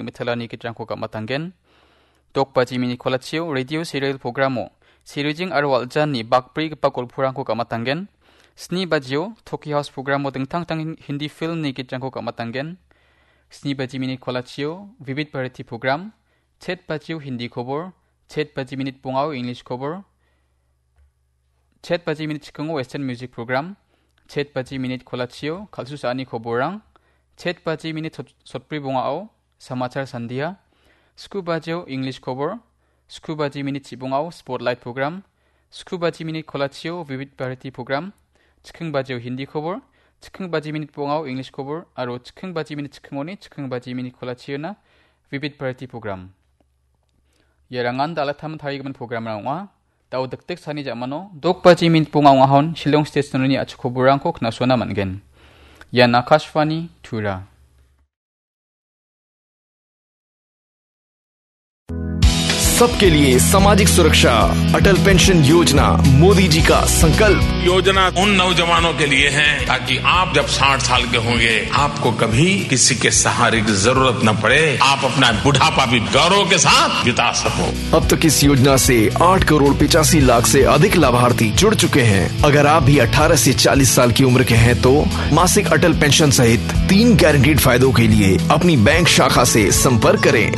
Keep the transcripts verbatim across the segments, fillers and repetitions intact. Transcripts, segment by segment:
Mitalani gitrangko gam·atanggen. Dok baji minit kolachio radio serial programo Serijing aro Waljanni bakbrigipa golporangko gam·atanggen. Sni bajio Toki House programo dingtang dingtang Hindi filmni gitrangko gam·atanggen. Sni baji minit kolachio Vivid Bharati program, chet bajio Hindi kobor, chet baji minit bongao English kobor, chet baji minit chikango Western music program, chet baji minit kolachio kal·susaani koborrang, chet baji minit sot-, sotbri bongao Samachar Sandia, sku bajio English kobor, sku baji minit chibongao Spotlight program, sku baji minit kolachio Vivid Bharati program, chiking bajio Hindi kobor, chiking baji minit bongao English kobor, aro chiking baji minit chikingoni chiking baji minit kolachiona Vivid Bharati program. Ia rangan dal·a taman tarigimin programrang ong·a. Dao dikdik sani ja·mano dok baji minit bonga ong·ahon Shillong State Sononi a·chik koborrangko knasuana man·gen. Ian Akashvani Tura. सबके लिए सामाजिक सुरक्षा, अटल पेंशन योजना, मोदी जी का संकल्प। योजना उन नौजवानों के लिए है, ताकि आप जब साठ साल के होंगे, आपको कभी किसी के सहारे की जरूरत न पड़े, आप अपना बुढ़ापा भी गौरव के साथ बिता सको। अब तक इस योजना से आठ करोड़ पचासी लाख से अधिक लाभार्थी जुड़ चुके हैं। अगर आप भी अठारह से चालीस साल की उम्र के हैं तो मासिक अटल पेंशन सहित तीन गारंटीड फायदों के लिए अपनी बैंक शाखा से संपर्क करें।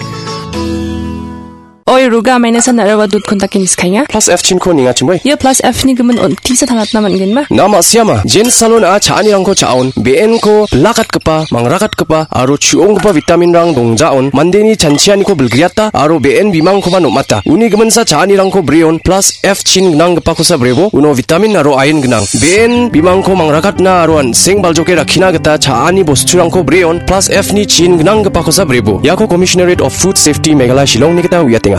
Oi, ruga maina san aro dut kontak ini skanya. Plus F chin ko ninga chimoi. Ia plus F ni gimin on tisa tangatna man gen ma. Na ma siama, Jen Salon a cha·anirangko cha·on, B N ko bilakatgipa, mangrakatgipa, aro chu·onggipa vitamin rang dongjaon, mandeni chanchianiko bilgriata, aro B N bimangkoba nom·ata. Uni giminsa cha·anirangko breon, plus F chin gnanggipakosa brebo, uno vitamin aro iron gnang. B N bimangko mangrakatna aro an·seng baljoke rakkina gita cha·ani bosturangko breon, plus F ni chin gnanggipakosa brebo. Iako Commissionerate of Food Safety Meghalaya Shillong ni gita uiatenga.